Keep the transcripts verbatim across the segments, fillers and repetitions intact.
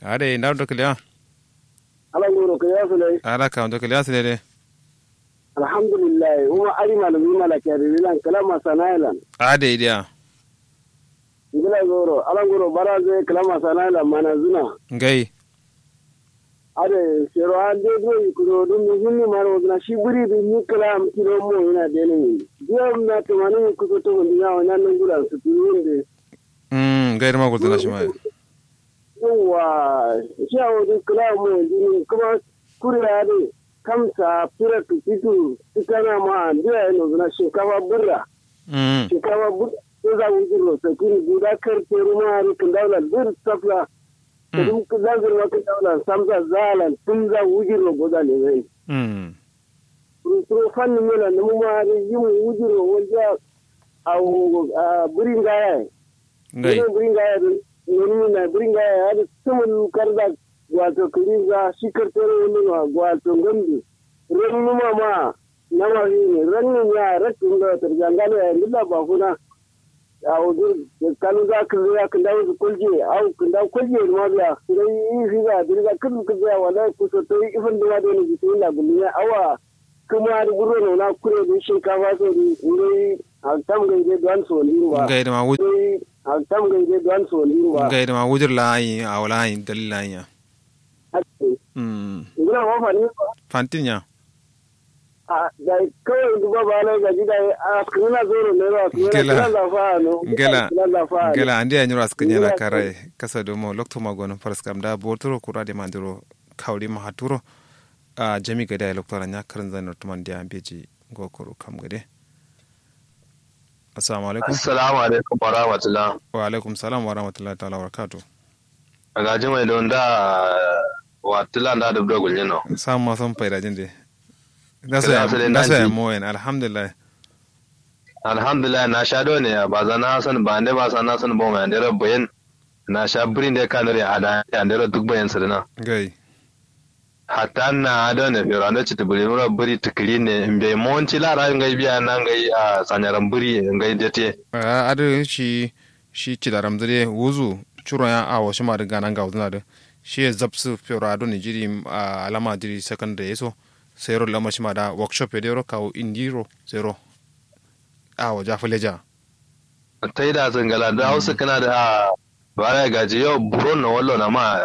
Adai nda ndo kǝliya. Ala nguro kǝliya sǝlai. Ala ka ndo kǝliya sǝlai dai. Alhamdulillahi uma ari malami malaki adai lan kǝla masana ye lan. Adai diya. Ngila zoro ala nguro bara zai kǝla masana ye lan mana zuna. Ngai. Adai sero an dai duro yikuro dun muhimmi maro wazuna shi buri dun ni kǝla am kilo mo yina dai nan yindi. Diya na tumani mi kuso to mundi yawo nan nan gulan su tuni yindi. Ngai dǝ ma gultǝna shima ye. Yauwa. Shi awo dǝ kǝla mo dǝ kǝma kuriya dǝ kamsa fira kǝ fitu. Tǝkana ma andiya ye nozǝna shinkafa bǝrra. Shinkafa bǝrra. Tǝza wujirro sakin guda karteru ma adǝ kǝndaulan bǝr safla. Kǝdǝm kǝdazǝr ma kǝndaulan samsa zalan tǝmza wujirro goza lezai. Rusuro fanni mela nǝmǝma adǝ yim wujiro walja. Awo bǝri ngaya ye. Ngai. Bǝri ngaya ye adǝ nonimi na bǝri ngaya ye adǝ sǝmǝl karza. Gwato kǝrinza shi kartero wundunwa gwato ngamdi. Rannuma ma nama fini rannin ya rattun do tarjangalo ya ndilla bafuna. Awo dǝ kanu za kǝlzǝ ya kǝndawu sǝ koljiye awo kǝndawu koljiye dǝ ma biya ngai fiza dǝ riga kǝlzǝ kǝlzǝ ya wallahi kuso tai ifin dǝ ma done bismillah gullumiya awa. Kǝma dǝ burro nona kure dǝ shinkafa so dǝ ngai altam ngai dai duwan so ndin ba. Ngai dǝ ma wujir. Altam ngai dai duwan so ndin ba. Ngai dǝ ma wujir la ayi awo la ayi dalil la ayi ya. Ngula ma fani. Fantin ya. A dai kawai duba ba lai gaji dai a kǝmina zoro ne ba kǝmina kǝmina zafa no. Ngela. Ngela ande ya nyiro askǝ nyena karai kasa domo lokto ma gono faras kam da boturo kura de mandiro. Kawri ma haturo. A jami gade ya lokto ranya kǝrin zai nurtuman diya beji. Ngo kuru kam gade. Assalamu alaikum. Assalamu alaikum wa rahmatullah. Wa alaikum salam wa rahmatullah ta'ala wa barakatuh. Gaji mai don da. Wa tila nda dubdo gulnyi no. Sam ma son faida jin de. Nda so ya mo yen alhamdulillah. Alhamdulillah na sha do ne ya baza na son ba nde ba sa na son bo mai ndero bayin. Na sha buri nde kanuri ada ya ndero duk bayin sirina. Gai. Hatta na ado ne fero ando citi buri mura buri tikiri ne mbe monti la ra ngai biya na ngai a sanyaran buri ngai dete. A ado shi shi cidaram dǝ de wuzu. Curo ya awo shima dǝ gana ngawu dǝna dǝ. Shi ye zapsǝ fero ado ne jiri alama jiri secondary ye so. Sai ro lama shima da workshop ye dero kawu indi ro sai ro. Awo ja fǝleja. Taida sǝ ngala dǝ hau sǝkkǝna dǝ a. Bara ye gaji yo buron no wallo na ma.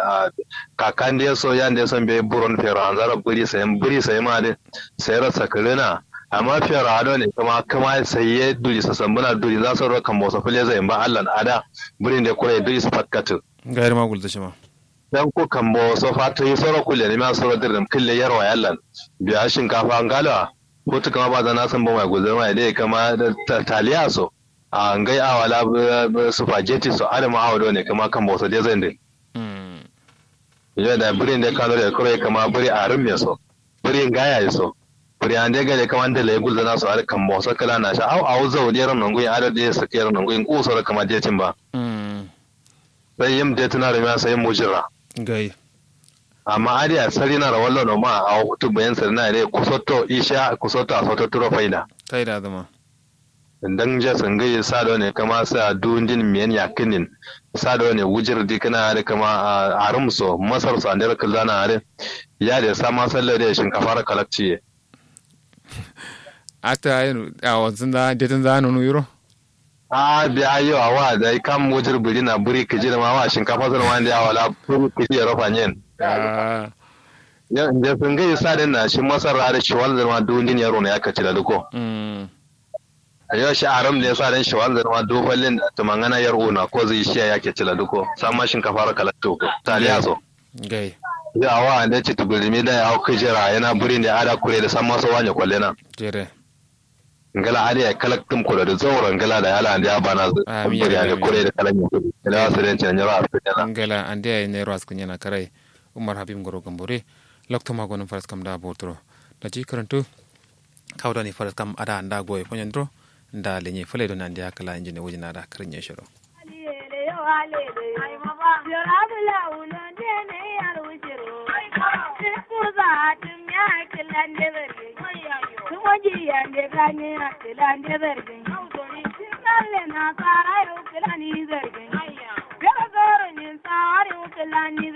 Kakan de so yan de so mbe buron fero anzaro buri sayin buri sayi ma dǝ. Sai ro sakǝrǝna. Amma fero ado ne kǝma kǝma sai ye duri so sambǝna duri za so ro kambo so fǝle zayin ba allan ada. Burin de kure duri so fatkatǝ. Gairi ma gulzǝ shima. Danko kambo so fato yi soro kulle ni ma soro dirrim kǝlle yarwa yallan. Biya shinkafa ngalo a. Futu kǝma ba zana sambǝ mai gulzǝ mai dai kǝma taliya so. A ngai awala. Supageti so adǝ ma awo do ne kǝma kambo so dai zai ndin. Yo da bǝri nde kano de kuro ye kǝma bǝri arǝm ye so. Bǝri ngaya ye so. Bǝri ande gade kǝma ndale gulzǝna so adǝ kambo so kǝla nasha au au zau de ro nongu ye adǝ de sǝkke ro nongu ye ngu so ro kǝma de timba. Sai yim de tǝna rumiya sai yim wujirra. Amma adǝ ya sarina ro wallo no ma awo futu bayan sarina ye de kusotto isha kusotto a soto turo faida. Faida dǝma. Ndangja sǝngǝyi sa done kǝma sa duwundin miyen yakkǝnin. Sa done wujir dikǝna adǝ kǝma. Arǝm so masar so andero kǝlzana adǝ. Yade sa masallo de shinkafa ro kalakciye. Ata awo sǝnda detǝnza nunu yiro. Ahh biya yo awa dai kam wujir bǝrina bǝri kǝji dǝma wa shinkafa sǝ dǝma nde awala bǝri kǝji yero fanyen. Ahh. Yo nde sǝngǝyi sa dǝn na shi masar adǝ shiwal dǝma duwundin yero no yakka cida dǝko. Yo shi aram de sa dan shiwanzǝ dǝma du fallin tǝmangana yar una kozǝ ishiya yakke cila dǝko samma shinkafaro kalaktu taliya so. Yo awa ande citǝ bǝrimi dai awo kǝjera yana bǝrin de ada kure dǝ samma so wanye kollena. Ngla adǝ yayi kalak tǝm kulo dǝ zauro ngla dai ala ande abanazǝ. Bǝri ande kure dǝ kalak nyi kudi kǝlewa sǝ den cina nyiro askǝ nyena. Ngla ande yayi nairo askǝ nyena karai. Umar habib ngoro gambore. Loktu ma gonǝm faraskam da boturo. Daji kǝrǝntu. Kawu done faraskam ada nda goye fanyandiro. Nda lenye fale done andeya kǝla injine wujina da kǝrǝnye shiro.